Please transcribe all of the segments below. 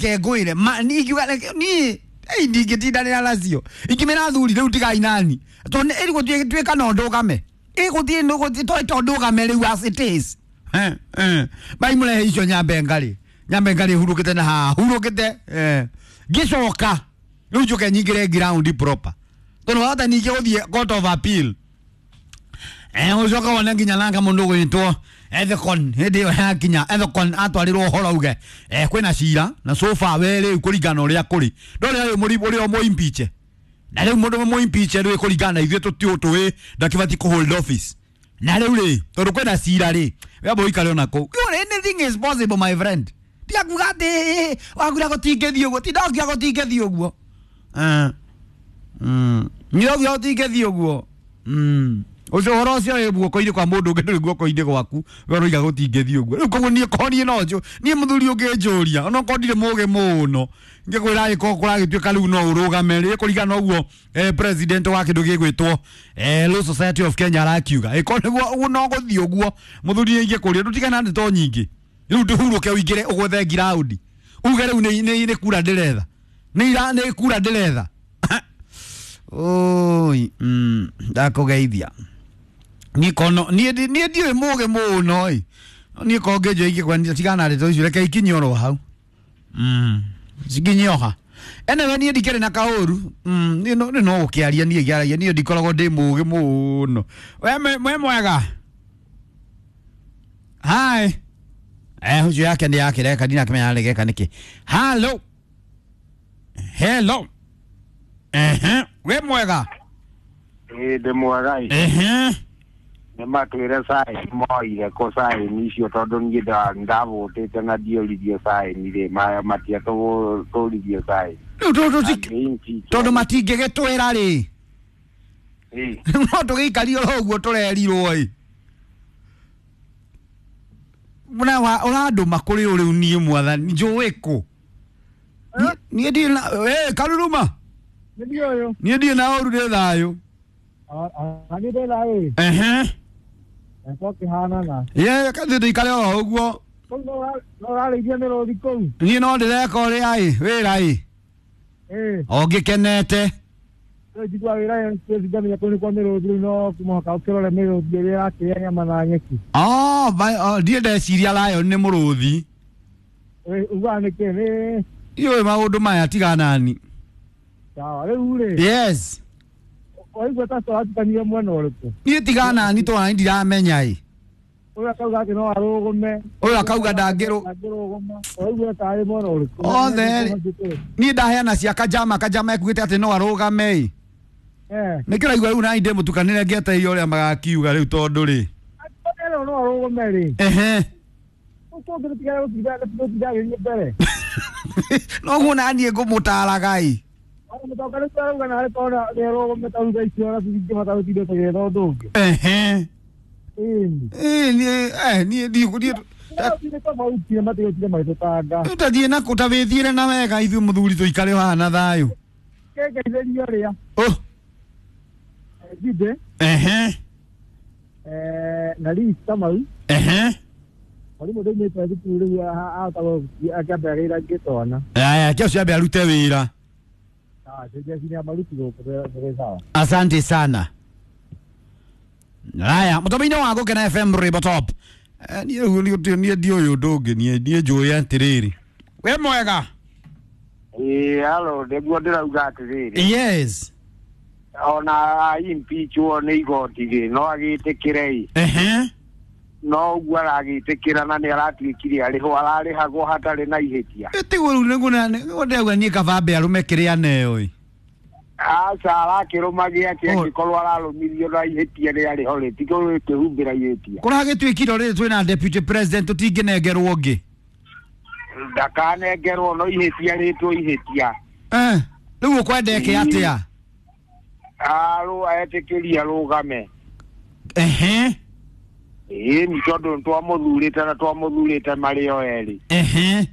Ngwĩre ma ingiuga niĩ ei ndingĩtindanĩra nacio ingĩmĩra athuri rĩu tigai nani tondũ ĩrĩ gũtuĩka no ndũgame ĩgũthiĩ nĩ to ndũgame rĩu as it is. Bai mũrehe icio nyambe ngarĩ nyambe ngarĩ hurũkĩte na haha hurũkĩte ngĩcoka rĩu njũke nyingĩre ground proper tondũ wahota ningĩ gũthiĩ court of appeal. Ucoka wone nginya nanga mũndũ ũgwĩtwo Ethekon hĩndĩ ĩyo yakinya Ethekon atwarirwo ũhoro uge kwĩna cira na so far we rĩu kũringana na ũrĩa kũrĩ ndũrĩ ũyũ mũri ũrĩa mũimpeach na rĩu mũndũ mũimpeach rĩu kũringana na ithuĩ tũtiũ tũĩ ndakĩbatiĩ kũ hold office na rĩu rĩ tondũ kwĩna cira rĩ we amba ũikare ona kũu. You know, anything is possible, my friend. Tiga kuga atĩ wakuga gũtingĩthiĩ ũguo ti ndokia gũtingĩthiĩ ũguo. Ndokia gũtingĩthiĩ ũguo. Ũcio ũhoro ũcio wĩ guoko-inĩ kwa mũndũ ũngĩ ndũrĩ guoko-inĩ gwaku we ũroiga gũtingĩthiĩ ũguo. Rĩu koguo niĩ korwo niĩ no njũ niĩ mũthuri ũngĩnjũria onokorwo ndirĩ mũgĩ mũno ngĩkwĩra angĩkorwo kũragĩtuĩka rĩu no ũrũgame rĩ kũringana na ũguo president wa kĩndũ gĩgwĩtwo Law Society of Kenya arakiuga ĩkorwo nĩguo ũguo no gũthiĩ ũguo mũthuri nĩ ingĩkũria ndũtigane na ndeto nyingĩ rĩu ndũhurũke ũingĩre ũgwethe ground uge rĩu nĩ kura ndĩretha nĩ ira nĩ kura ndĩretha. Oi, ndakũgeithia niĩ kono niĩ niĩ ndiũĩ mũgĩ mũno ĩ niĩ ko ngĩnjũ ingĩkwendia tigana na ndeto icio reke ikinye oro hau cikinye oha. Anyway niĩ ndikĩrĩ na kaũru. Niĩ no nĩ no gũkĩaria niĩ ngĩaragia niĩ ndikoragwo ndĩ mũgĩ mũno. We mwega hi ũcio yake nĩ yakĩreka ndinakĩmenya aregeka nĩkĩ. Hello, hello, ehe we mwega. Ĩĩ ndĩ mwega ĩ. Nĩ matwĩre saĩni moire kũ saĩni icio tondũ niĩ ndavũtĩte na ndiũririe saĩni rĩ matiatũririe saĩni. Rĩu tondũ matingĩgĩtwĩra rĩ no tũgĩikarie oro ũguo tũrerirwo ĩ ũrandũma kũrĩ ũ rĩu niĩ mwathani njũĩ kũ niĩ ndirĩ na karuruma niĩ ndirĩ na ũru ndĩ thayũ. Ehe ye kathi tũikare oro ũguo niĩ no ndĩreka ũrĩa ĩ wĩra ĩ o ngĩkenete. Ndiĩ ndeciria lion nĩ mũrũthi iũĩ maũndũ maya tiga nani. Yes niĩ tiga nani twana ndiramenya ĩ ũyũ akauga ndangĩrũ othe rĩ niĩ ndaheana cia kajama kajama ekuĩte atĩ no arũgame ĩ nĩkĩo ũraigua rĩu nani ndĩmũtukanĩre ngĩetereire ũrĩa magakiuga rĩu tondũ rĩ ehe noguo naniĩ ngũmũtaraga ĩ ehe niĩ niĩ ũtathiĩ nakũ ta wĩthiĩre na wega ithuĩ mũthuri tũikare haha na thayũ. Ehe ehe aya kĩo ciambe arute wĩra. Asante sana. Haya, mũtũmĩinĩ wa Gũkena FM Rwĩmbo Top. Niĩ rĩu niĩ ndiũĩ ũndũ ũngĩ niĩ njũĩ atĩrĩrĩ. We mwega. Ĩĩ halo nĩguo ndĩrauga atĩrĩrĩ. Yes. Ona impeachwo nĩ igoti rĩ no agĩtĩkĩre ĩ. Ehe. No ũguo aragĩtĩkĩra na nĩ aratuĩkire arĩhwo ararĩhagwo hatarĩ na ihĩtia. Tiguo rĩu nĩguo nĩguo ndĩrauga niĩ kaba ambe arũme kĩrĩa aneo ĩ. Aca arakĩrũma gĩake angĩkorwo ararũmirio na ihĩtia rĩarĩ ho rĩ ti kwĩhumbĩra ihĩtia. Kũragĩtuĩkire rĩrĩ twĩna deputy president tũtingĩnengerwo ũngĩ. Ndakanengerwo no ihĩtia rĩtwo ihĩtia. Rĩu ũkwenda eke atĩa? Etĩkĩrie arũgame. Ehe. Ĩĩ nĩ tondũ nĩtwamũthurĩte na twamũthurĩte marĩ o erĩ. Ehe.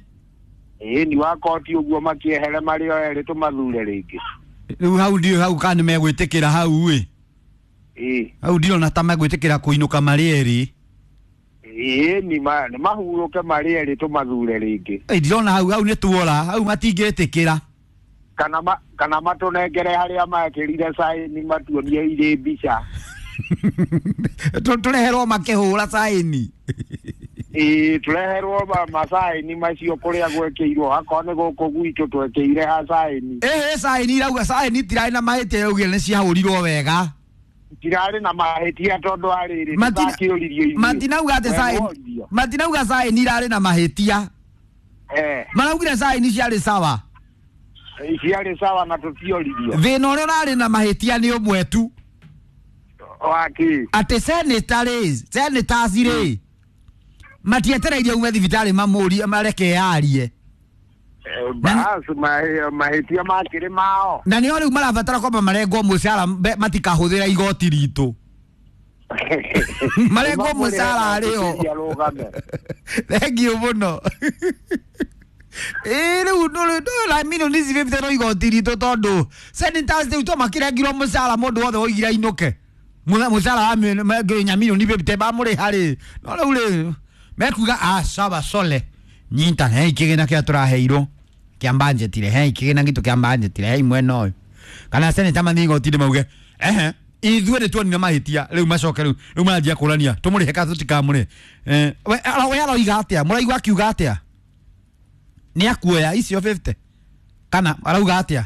Ĩĩ ni wa koti ũguo makĩehere marĩ o erĩ tũmathure rĩngĩ. Rĩu hau ndiũĩ hau kana nĩmegwĩtĩkĩra hau ĩ. Ĩĩ. Hau ndirona ta megwĩtĩkĩra kũinũka marĩ erĩ. Ĩĩ ni nĩ mahurũke marĩ erĩ tũmathure rĩngĩ. Ndirona hau hau nĩ tuora hau matingĩtĩkĩra. Kana matũnengere harĩa mekĩrire saini matuonie irĩ mbica. Tũreherwo makĩhũra saini. Ĩĩ tũreherwo masaini macio kũrĩa gwekĩirwo akorwo nĩ gũkũ gwitũ twekĩire ha saini. Ĩhĩ saini irauga saini itirarĩ na mahĩtia yaugire nĩ ciahũrirwo wega. Tirarĩ na mahĩtia tondũ arĩrĩ tũtakĩũririo ithuĩ. Matinauga atĩ saini matinauga saini irarĩ na mahĩtia. Maraugire saini ciarĩ sawa. Ciarĩ sawa na tũtioririo. Thĩna ũrĩa ũrarĩ na mahĩtia nĩ ũmwe tu. Waki. Atĩ senators rĩ matietereirie ume thibitarĩ mamũrie mareke yarie. Bas mahĩtia makĩrĩ mao. Na nĩo rĩu marabatara kwamba marengwo mũcara matikahũthĩra igoti ritũ. Marengwo mũcara rĩo. Thengiũ mũno. Rĩu ndũra milioni ici 50 no igoti ritũ tondũ senators rĩu to makĩrengirwo mũcara mũndũ wothe woigire ainũke. Mũcara wa nginya milioni 50 bamũrĩha rĩ. No rĩu rĩ mekuga sawa sole nyita hei kĩgĩna kĩrĩa tũraheirwo kĩa budget rĩ hei kĩgĩna gitũ kĩa budget rĩ hei mwena ũyũ. Kana seneta mathiĩ igoti-inĩ mauge ehe ithuĩ nĩ tuonire mahĩtia rĩu macoke rĩu maranjia kũrania tũmũrĩhe kana tũtikamũrĩhe. We aroiga atĩa mũraigua akiuga atĩa nĩ akuoya icio 50 kana arauga atĩa?